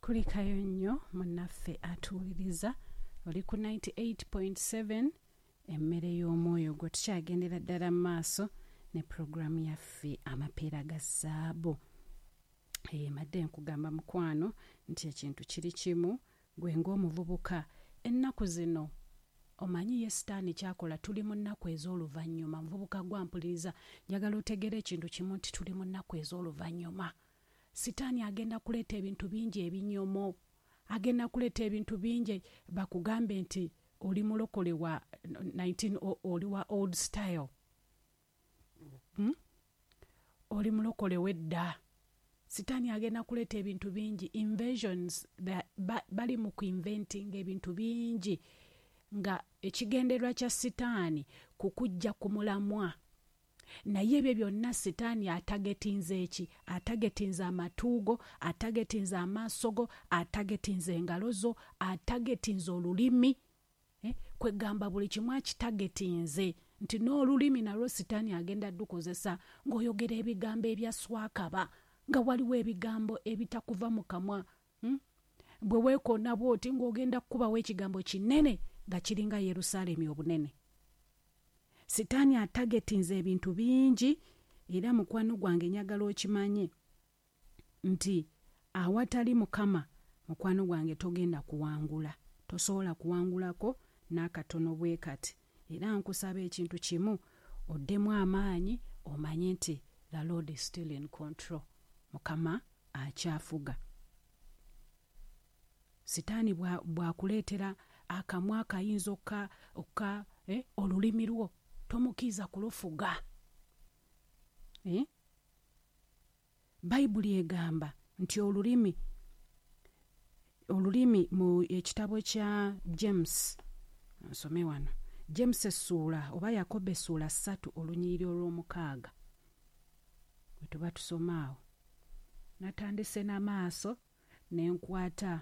Kulikayo nnyo munnaffe atuwuliriza, oli ku 98.7 Emmere y'Omwoyo gwo. Tukyagendera ddala mu maaso ne pulogulaamu yaffe Amapeera ga Zaabu. Mbadde nkugamba mukwano nti ekintu kiri kimu, gwe ng'omuvubuka ennaku zino omanyi ye sitaani kyakola, tuli mu nnaku ez'oluvannyuma. Muvubuka gwampuliriza, njagala otegeere ekintu kimu nti tuli mu nnaku ez'oluvannyuma. Sitaani agenda kuleeta ebintu bingi ebinyomo, agenda kuleeta ebintu bingi bakugambe nti oli mulokole wa 19 oli wa old style, Oli mulokole wedda. Sitaani agenda kuleeta ebintu bingi, invasions, bali mu kuinventing ebintu bingi nga ekigendererwa kya sitaani kukujja ku mulamwa. Naye ebyo byonna sitaani atagetinze eki? Atagetinze amatu go, atagetinze amaaso go, atagetinze engalo zo, atagetinze olulimi. Kwegamba buli kimu akitagetinze nti n'olulimi nalwo sitaani agenda dukozesa ng'oyogera ebigambo ebya swakaba, nga waliwo ebigambo ebitakuva mu kamwa. Bwe weekoona bw'oti ng'ogenda kukubawo ekigambo kinene nga kiringa Yerusaalemi obunene. Sitaani atagetinze ebintu bingi, era mukwano gwange njagala okimanye nti awatali Mukama, mukwano gwange togenda kuwangula, tosobola kuwangulako n'akatono bwe kati. Era nkusaba ekintu kimu, oddemu amaanyi, omanye nti the Lord is still in control, Mukama akyafuga. Sitaani bw'akuleetera akamwa akayinza okka olulimi lwo, tomukkiriza kulufuga. Bayibuli egamba nti olulimi mu ekitabo kya James, nsome wano James essuula oba Yakobo essuula 3 olunyiriri olw'omukaaga, bwe tuba tusoma awo. Natandise n'amaaso ne nkwata